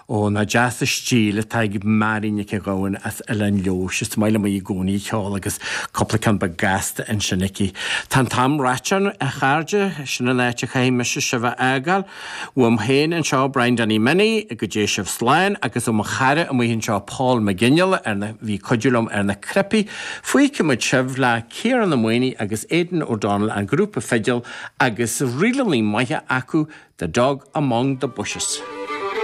Ó, nach deas an stíl atá ag Mary Nic an Ghabhann as Oileán Leodhais. Is maith liom í i gcónaí ag ceol agus cúpla ceann beag gasta ansin aici. Tá an t-am ráite, a chairde. Sin an áit a chaithfidh mise sibh a fhágáil. Uaim féin anseo, Brian Danny Minnie, go dté sibh slán, agus ó mo chara amuigh anseo, Paul McGinley, ar na, bhí ag cuidiú liom ar na cnaipí. Fágfaidh muid sibh le Ciarán Ó Maonaigh agus Aidan O'Donnell, an grúpa fidil, agus ríleanna maithe acu, The Dog Among the Bushes.